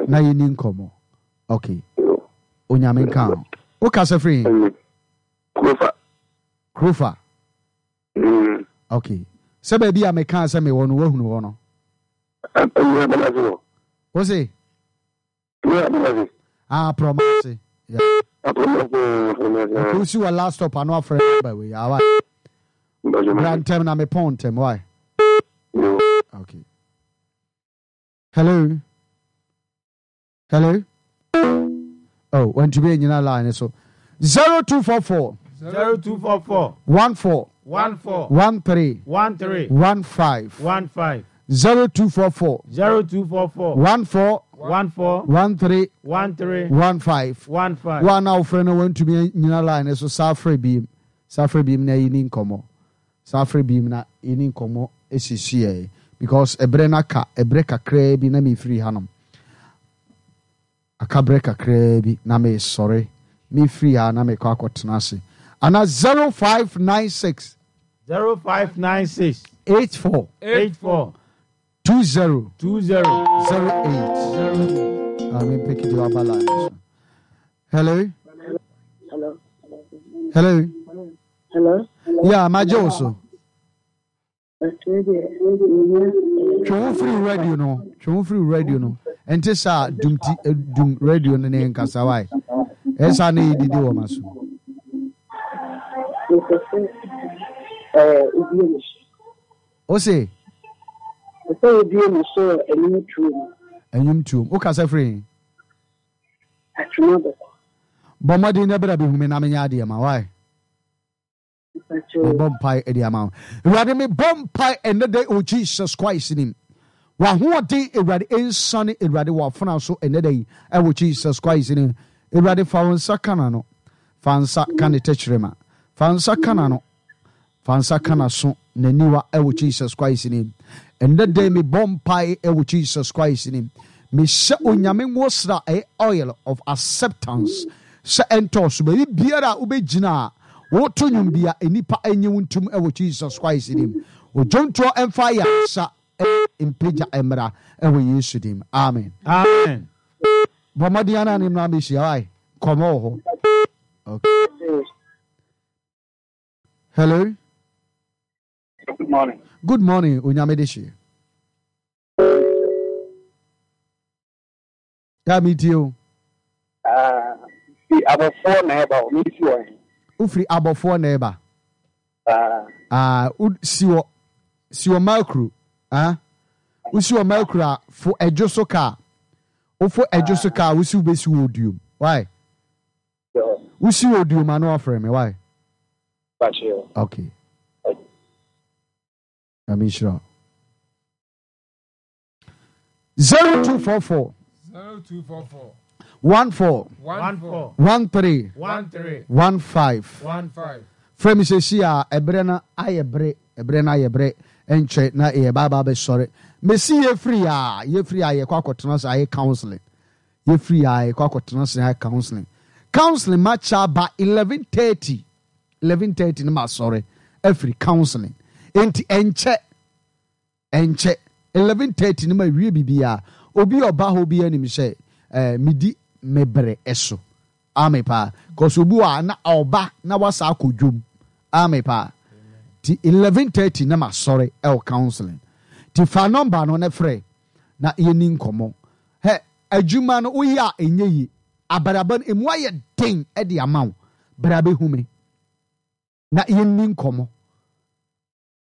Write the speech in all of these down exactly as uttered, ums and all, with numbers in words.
Na yɛni nkɔmmɔ. Okay. Onyame nka ho. Wokasa firi he? Krofa. Krofa. Mm. Okay. Sɛ baabi a mekaa sɛ mewɔ no, woahunu hɔ no? Wo se? Ah, Prɔmase. Yeah. Okay, wosi wɔ last stop ano afrɛ number wei. Awa. Bra ntɛm na mepɔn ntɛm. Why? Okay. Hello. Hello. Oh, wantumi anyina line so. Zero two four four. Zero two four four. One four. One four. One three. One three. One five. One five. Zero two four four. Zero two four four. One four. One four. One three. One three. One five. One five. One a wofrɛ no wantumi anyina line so saa frɛ biem. Saa frɛ biem na yɛni nkɔmmɔ. Saa frɛ biem na yɛni nkɔmmɔ esisi yɛ because ɛbrɛ no aka ɛbrɛ kakraa bi na mefiri hanom. Aka berɛ kakraa bi na mesɔre mefiri ha na mekɔ akɔtena ase. Ana zero five nine six. Zero five nine six. Eight four. Eight four. Two zero. Two zero. Zero eight. Zero. I mean, pick it up line. Hello. Hello. Hello. Hello. Yeah, my also. Twe wo firi radio no. Twe wo firi radio no. Ente sa dum ti dum radio no ne nkasa wai. Esa ne didi wo maso. Eh, obi O se? Sɛ obi mu so enyim tuom. Enyim tuom. O kasa firi? Atwuma bɛkɔ. Bɔ mmɔden na bra bɛhu me na menyɛ adeɛ ma wai. Mebɔ mpae de ama wo. Awurade mebɔ mpae ɛnnɛ da o Jesus Christ nim. W'ahoɔden Awurade nsane Awurade w'afena so ɛnnɛ da yi ɛwɔ Jesus Christ nim. Awurade fa wo nsa ka n'ano. Fa nsa ka ne tɛkyerɛma. Fa nsa ka n'ano. Fa nsa ka n'aso n'aniwa ɛwɔ Jesus Christ nim. Ɛnnɛ da yi mebɔ mpae ɛwɔ Jesus Christ nim. Mehyɛ Onyame nwosra ɛyɛ oil of acceptance sɛ ɛntɔ so baabi biara a wobɛgyina a woto nnwom bi a nnipa enye wo ntom ɛwɔ Jesus Christ nim. Odwontoɔ ɛmfa ayaresa mpagya mmra ɛwɔ Yesu dim. Amen. Amen. Bɔ mmɔden ana ne mmra mehyia wae. Nkɔmmɔ wɔ hɔ. Okay. Hello. Good morning. Good morning, Onyame de hye. Ya mi tie o. Ah, fi abɔfoɔ na ɛba o, mi si wɔ he. Wofiri abɔfoɔ na ɛba. Ah. Ah, wo si wɔ si wɔ Mercury. Ah. Wo si wɔ Mercury a fo ɛdwo so kaa. Wofo ɛdwo so kaa, wo si wobɛsi wɔ oduom. Why? Wo si wɔ oduom ano afrɛ me. Why? Okay. Nyame nhyira wo. Zero two four four. Zero two four four. One four. One four. One three. One three. One five. One five. Frɛ me sɛsi a ɛberɛ no ayɛ bere ɛberɛ no ayɛ bere ɛnkyɛ na yɛ baaba bɛsɔre mesi yɛfiri a yɛfiri a yɛkɔ akɔtena sɛ ayɛ counseling yɛfiri a yɛkɔ akɔtena sɛ ayɛ counseling counseling makyɛ ba eleven thirty eleven thirty ne ma sɔre afiri counseling enti ɛnkyɛ ɛnkyɛ eleven thirty ne ma wie biribiara obi ɔba hɔ bi anim sɛ ɛɛ medi me bere ɛso ame paa kɔsɔ obi wɔ a na ɔba na wasa akɔ dwom ame paa ti eleven thirty ne ma sɔre ɛwɔ counseling ti fa number no ne frɛ na yɛni nkɔmɔ hɛ adwuma no woyɛ a ɛnyɛ yie abrabɔ no emu ayɛ den ɛde ama wo bra bɛhu me na yɛni nkɔmɔ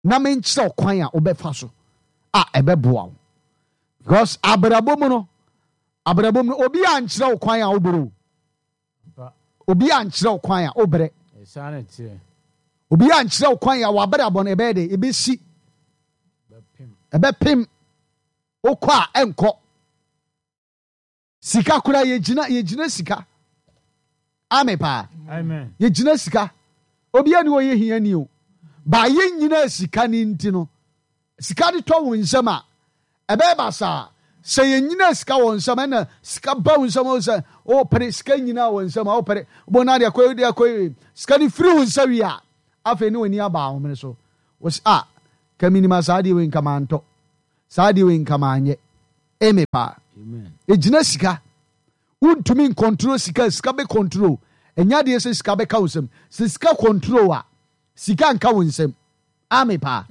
na menkyerɛ kwan a wobɛfa so a ɛbɛboa wo because abrabɔ mu no abrabɔ mu no obi a nkyerɛ wo kwan a wobrɛ o obi a nkyerɛ wo kwan a wobrɛ obi a nkyerɛ wo kwan a wabrabɔ no ɛbɛyɛ de ɛbɛsi ɛbɛpem wokɔ a ɛnkɔ sika koraa yɛgyina yɛgyina sika ame paa yɛgyina sika obi a ni ɔyɛ hia ni o ba yɛ nyina sika ni nti no sika de tɔ wo nsɛm a ɛbɛyɛ basaa sɛ yɛnyina sika wɔ nsɛm ɛna sika ba wo nsɛm wo sɛ wopere sika nyina wɔ nsɛm a wopere bo na de akɔ de akɔ sika de firi wo nsa wie a afei ne w'ani aba ahomene so wo sɛ a ka minima saa deɛ wei nka mantɔ saa deɛ wei nka manyɛ eme paa. Amen. Ɛgyina sika. Wontumi ncontrol sika, sika bɛ control. Ɛnyɛ adeɛ sɛ sika bɛka wo nsam. Sɛ sika control a, sika nka wo nsam. Ame paa.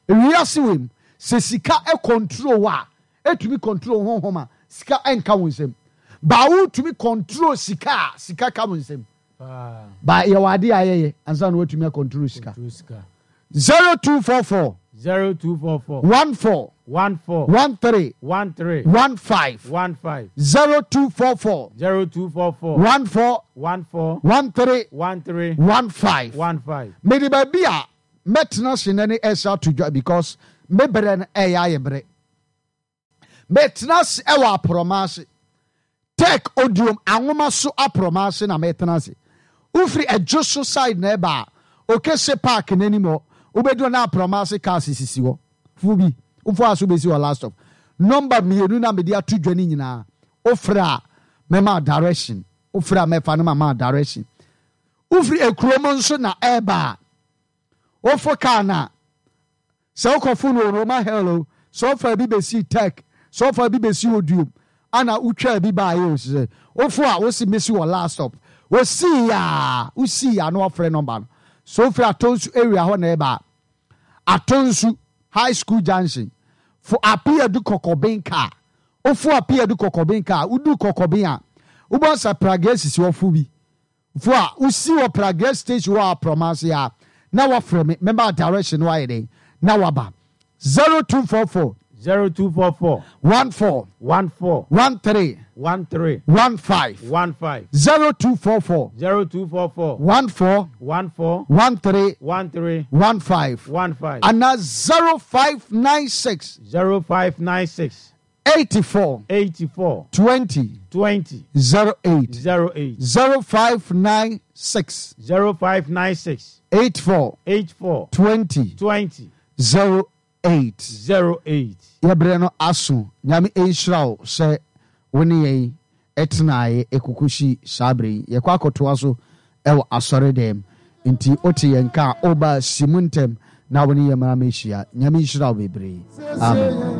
Ewiase wei mu, sɛ sika control a, ɛtumi control honhom a, sika nka wo nsam. Ba wotumi control sika a, sika ka wo nsam. Paa. Ba yɛwɔ adeɛ a yɛyɛ ansa na watumi acontrol sika. Control sika. zero two four four Zero two four four one four one four one three one three one five one five zero two four four zero two four four one four one four one three one three one five. one five. Mede baabi a mɛtena ase nɛ ne ɛsɛ ato dwa because me berɛ no ɛyɛ ayɛ berɛ. Mɛtena ase ɛwɔ aporɔma ase. Tech Odiom anwoma so aporɔma ase na mɛtena ase. Wofiri ɛdwo so side na ɛba a, Okese Park n'anim hɔ, wobɛduru na aporɔma ase cars sisi hɔ. Fo bi, wofo aso bɛsi hɔ last stop. Number mmienu na mede ato dwa no nyinaa. Wofrɛ a, mɛma direction. Wofrɛ a mɛfa no ma ma direction. Wofiri ekurom nso na ɛreba a, wofo kaa na sɛ wokɔfo no Roma Hill o, sɛ wofa bi bɛsi Tech, sɛ wofa bi bɛsi Odiom, ana wotwaa bi baeɛ o, sɛ wofo a wosi mesi wɔ last stop. Wosii a, wosii a na wafrɛ number no. So wofiri Atonsu area hɔ na ɛba a, Atonsu High School Junction, fo Apiadu Kɔkɔben car. Wofo Apiadu Kɔkɔben car, wodu Kɔkɔben a, wobɔ sɛ Prague sisi hɔ fo bi. Fo a wosi wɔ Prague station hɔ a Prɔmase a, na wafrɛ me, mɛma direction no ayɛ dɛn, na waba. zero two four four Zero two four four one four one four one three one three one five one five zero two four four zero two four four one four one four one three one three one five one five ana zero five nine six zero five nine six eighty four eighty four twenty twenty zero eight zero eight zero five nine six zero five nine six eight four eight four twenty twenty zero eight. zero eight. Yɛbrɛ no aso. Nyame nhyira wo sɛ wo ne yɛn ɛtenaeɛ ɛkukuhyi saa berɛ yi. Yɛkɔ akɔtoa so ɛwɔ asɔre dɛm. Nti wote yɛn ka a, woba si mu ntɛm na wo ne yɛn mmara mɛhyia. Nyame nhyira wo bebree. Amen.